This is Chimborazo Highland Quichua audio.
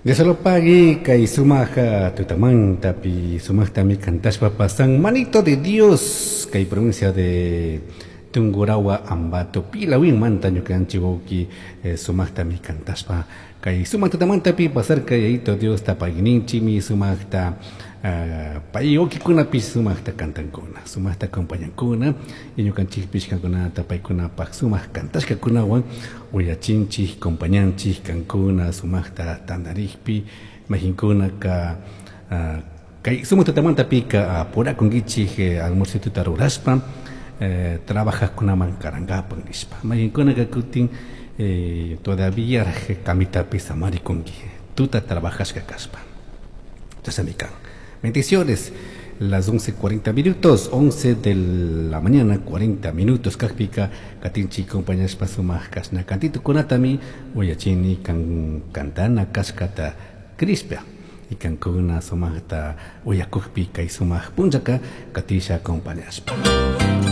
Dios kay sumaq tutamantapi sumaqtami kantashpa pasan Manito de Dios kay provincia de Tungurahua, Ambato, Pilawinmanta ñukanchik wawki sumaqtami kantashpa kay sumaq tutamantapi pasarka. Yayito Diosta pagui ninchikmi sumaqta pay wawkikunapish sumaqta kantankuna, sumaqta acompañankuna y ñukanchikpish kankunata paykunapaq sumaq kantashkakunawan uyachinchik, compañanchik kankuna sumaqta tantarikpi mayqinkunaka kay sumaq tutamantapika apurakunkichik almuercituta rurashpa trabajaqkunaman karankapak nishpa, mayqinkunaka kutin todavía camitapi samarikunki tuta trabajashka kashpa. Chashnami kan. Bendiciones. Las 11:40 minutos, 11 de la mañana, 40 minutos kakpika katinchik compañashpa sumaq kashna kantitukunatami uyachini kan kantana kashkata crishpa y kankuna sumaqta uyakukpi kay sumaq punllaka katisha acompañashpa.